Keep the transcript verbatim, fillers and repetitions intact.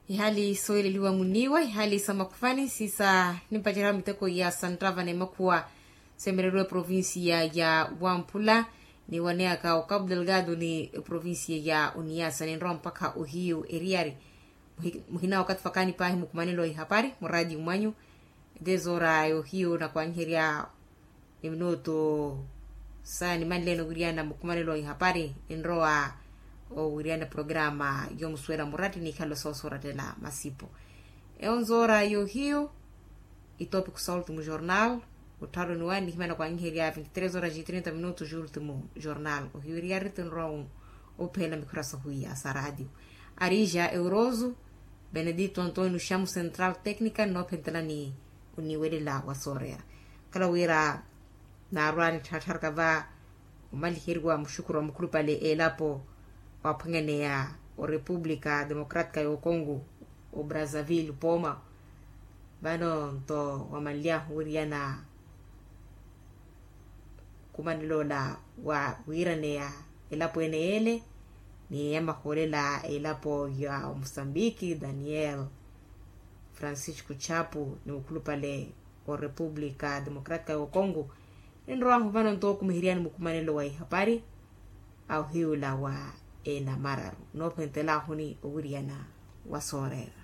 Ihali soyeleliwa muniiwa ihali sa makhufani sisa nimpaceryaha miteko ya santtava n'emakhuwa semereriwa eprovincia ya wamphula niwaneyaka okapu delgado ni eprovincia ya oniyasa ninrowa mpakha ohiyu eriyari. Muhina wakathi fakaani paahi mukhumanelo wa ihapari muraati mwanyu. Ete zoora yohiyu nakwanyiherya eminutu sa nimanleene owiriyana mukhumanelo wa ihapari ninrowa owiriyana programa yomusuwela muraati nikhalo soosorattela masipo. Eyo nzoora yohiyu itopiko sa ultimo jornal. Ottharoniwa nihimana kwanyiherya vinti tres horas e trinta minutos ultimo jornal ohiwiriyari tinrowa opheela mikhura sahuwiya sa raatiyo. Arija euroso benedito antonio xamo central tecnica nnoophentelani oniwelela wa sooreera. Khala wira naarwani ttharattharaka va omaliheriwa muxukuru wa mukhulupale elapo waphwanyaneya orepublica democratica y'okongo obrazaville poma. Vano nto wamanly'ahu wiriyana khumanel'ola wa wiiraneya elapo ene y'ele ni yamahoolela elapo ya omusambiki daniel francisco chapu ni mukhulupale orepublica democratica y'okongo. Ninrowahu vano nto okumiheryani mukhumanelo wa ihapari a ohiyula wa enamararu noophentelahuni owiriyana wa sooreera.